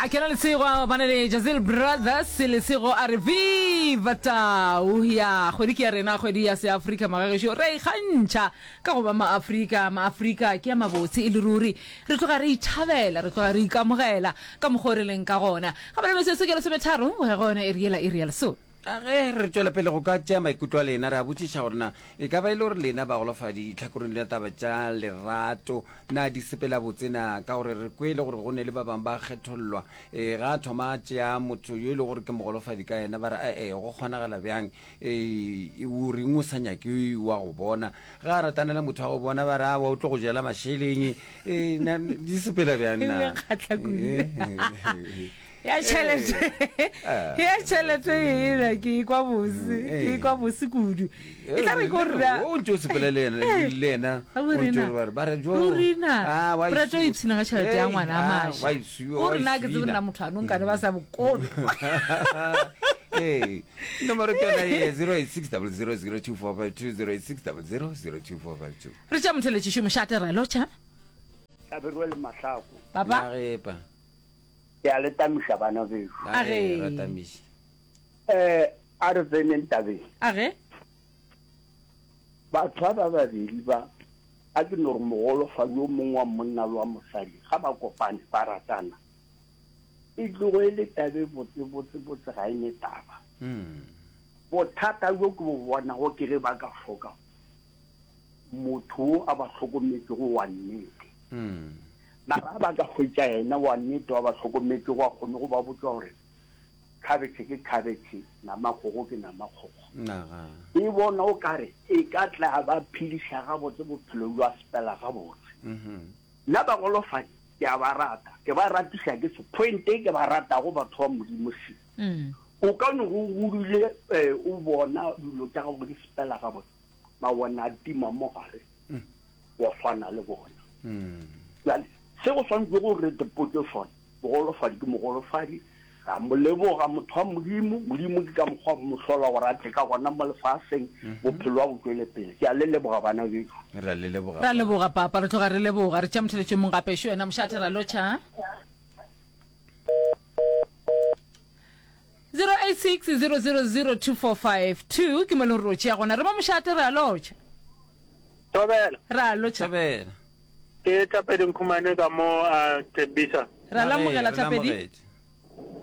A kena Lesego ba na le Jazil Brothers Lesego a re viva tau ya kgwedi ke ya rena kgwedi ya seafrika magagešo re ikgantšha ka go ba maafrika maafrika ke ya mabotse e le ruri re tloga re ithabela re tloga re ikamogela ka mokgwa o re leng ka gona ga bale metsotso ke lesometharo go ya go yona iri yela iri ya lesome A Ge re tšwela pele go ka tšea maikutlo a lena, re a botšiša gore na e ka ba e le gore lena bagolofadi tlhakoreng la taba tša lerato na di sepela botse na? Ka gore re kwele gore go ne le ba bangwe ba kgethollwa. E, ga a thoma a tšea motho yo e le gore ke mogolofadi ka yena, ba re e-e go kgonagala bjang? E, o reng o sa nyake wa go bona? Ge a ratana le motho wa go bona, ba re aowa o tlo go jela mašeleng. E, na di sepela bjang E na? kgahla kudu. E, ya tšhelete ya tšhelete ela ke ikwa bose ke ikwa bose kudu e tla re ko rra o ntse o sepela le yena le yena o ntse o re ba re jo rina re tlo ipshina ka tšhelete ya ngwana a masha o rena ke tsebe nna motho a nong kane ba sa bokolo ee nomoro ke yona ye 086 0002452 086 0002452 re tša motheletšišo mošate ra lotšha Hlabirwe le Mahlako. Papa. Nagepa. Ke a le tamiša bana bešo. A ge. Ra tamiša. Eh, a re tseneng tabeng. A ge. Batho ba ba babedi ba, a ke no re mogolofadi yo mongwe wa monna le wa mosadi, ga ba kopane, ba ratana, e tlogo e le taba e botse, botse, botse, ga e ne taba. Bothata bjo ke bo bonago ke ge ba ka hloka motho wo a ba hlokometšego wa nnete. Mara a ba ka hwetša yena wa nnete wa ba hlokometšego a kgone go ba botša gore khabetšhe ke khabetšhe, nama kgogo ke nama kgogo. E bona o ka re e ka tla ba phediša gabotse bophelo bja sepela gabotse. Nna bagolofadi ke a ba rata, ke ba ratiša ke se point e ke ba ratago batho ba Modimo se. O ka no go godile o bona dilo tša gago di sepela gabotse. ba bona a tima mo gare wa swana le bona. Bjale se go swanetše go re dipotše sona, mogolofadi ke mogolofadi, ra mo leboga motho wa Modimo, Modimo ke ka mokgwa mo hlola gore a tle ka gona mo lefaseng, bophelo ba bo tšwele pele. Ke a le leboga bana bešo. Re a le leboga. Ra leboga papa, re tloga re leboga. Re tšea motheletšo mong gape, šo wena mošate ra lotšha. 0860002452 ke mo le gore o tšea gona re mo mošate re a lotšha Thobela. Re a lotšha. Thobela. Ke Thapedi Nkhumane ka mo a Tembisa. Re a lamogela Thapedi.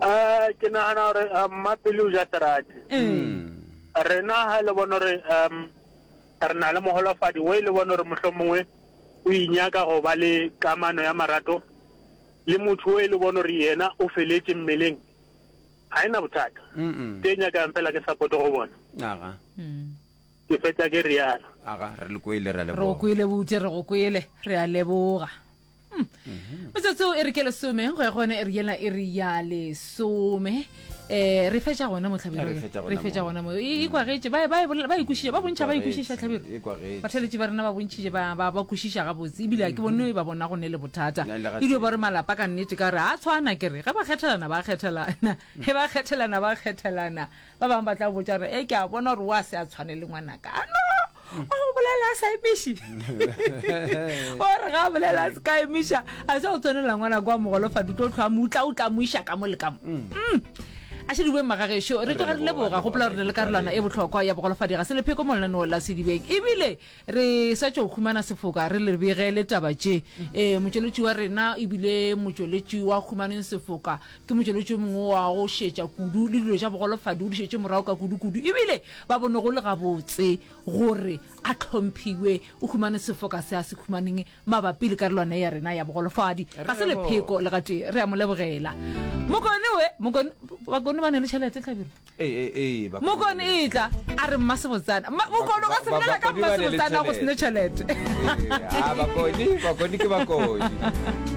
Eh ke nagana gore eh, Mmapele o ja serati. Rena ha le bona gore um re na le mogolofadi o e le bona gore mohlomongwe o inyaka go ba le kamano ya marato le motho o e le bona gore yena o feletše mmeleng ga e na bothata. Ke e nyakang fela ke support go bona. Aga. Ke fetša ke realo. Aga, re le kwele, re a Re go leboga. kwele bute, re go kwele, re a leboga. Hmm. Metsotso e re ke lesome go ya gone e re yela e re ya lesome. Eh re fetša gona mo Hlabirwa. Re fetša gona Re fetša mo. gona mo. E e kwagetše ba ba e bolela- ba e kwešiša ba bontšha ba e kwešiša Hlabirwa. E kwagetše. Batheeletši ba rena ba bontšhitše ba ba ba kwešiša gabotse ebile a ke bone ba bona go ne le bothata. Le ga E dio tee. ba re malapa ka nnete ka re a tshwana ke re ge ba kgethelana ba kgethelana. Ge ba kgethelana ba kgethelana. Ba bangwe ba tla botša gore e ke a bona gore wa se a tshwane le ngwanaka. A no o go bolela a sa emiše. O re ga a bolela a se ka emiša a se go tshwanela ngwanaka wa mogolofadi o tlo hlwa mo utla o tla mo iša ka mo le ka mo. Mm. A še di bue magagešo re tloga re leboga gopola gore le karolwana e bohlokwa ya bogolofadi ga se lepheko mo lenaneo la sedibeng ebile re sa tšo humana sefoka re le begele taba tše um motšweletši wa rena ebile motšweletši wa humaneng sefoka ke motšweletši o mongwe wa go šetša kudu le dilo tša bogolofadi o di šetše morago ka kudu-kudu ebile ba bone go le gabotse gore a hlomphiwe o humane sefoka se a se humaneng Mabapi le karolwana ya rena ya bogolofadi, ga se lepheko le gatee. Re a mo lebogela. Mokone we, Mokone, Bakone ba ne le tšhelete, Hlabirwa. Ee, ee, ee, Bakone Mokone ba ne le e tla, a re Mmasebotsana. Ma, Mokone o ka se Ba- ba- bolela ka Bakone ba ne le Mmasebotsana go se ne tšhelete. tšhelete. Ee, a Bakone, Bakone ke Bakone.